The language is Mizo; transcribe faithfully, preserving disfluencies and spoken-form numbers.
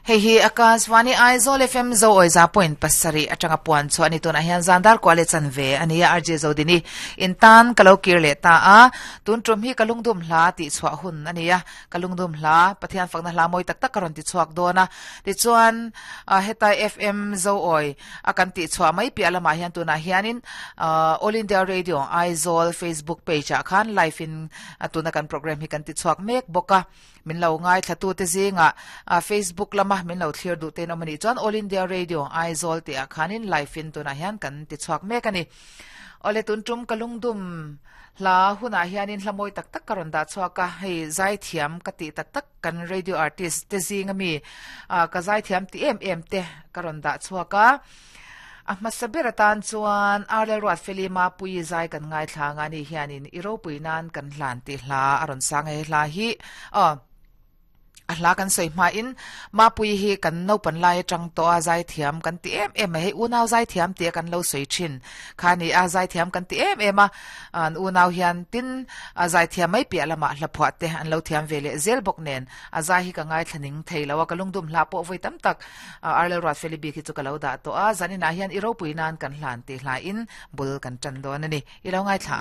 Hei hi Akashvani Aizawl F M zo oi za point pasari atanga puan chu ani tuna hian zandar kwale chan ve ani R J Zodini intan kalokir le ta a tun tum hi kalungdum hla ti chwa hun ania kalungdum hla pathian fakna hla moi tak tak karon ti chuak dona ti chuan heta F M zo oi akan ti chwa mai pi alama hian tuna hianin All India Radio Aizawl Facebook page a khan live in tuna kan program hi kan ti chuak mek boka min lo ngai thlatu te zinga Facebook lama min lo thlir du te nomani chuan All India Radio Aizawl te a khanin live in tuna hian kan ti chuak mek ani ole tun tum kalungdum hla huna hianin hlamoi tak tak karon da chuaka hei zai thiam ka ti tak tak kan radio artist te zinga mi ka zai thiam ti em em te karon da chuaka a masabir atan chuan Arlel Ruat Felima pui zai kan ngai thlanga ni hianin iropui nan kan hlan ti hla aron sang he hla hi a a hla kan soi ma in ma pui hi kan no pan lai tang to a zai thiam kan ti em em hei unau zai thiam ti kan lo soi thin khani a zai thiam kan ti em em a an unau hian tin a zai thiam mai pi alama hla phwa te an lo thiam vele zel bok nen a zai hi ka ngai thlaning theilawa kalungdum hla po voi tam tak Arlel Ruat Felibi khi chu ka lo da to a zanina hian iropui nan kan hlan ti hla in bul kan chan don ani ilo ngai thla.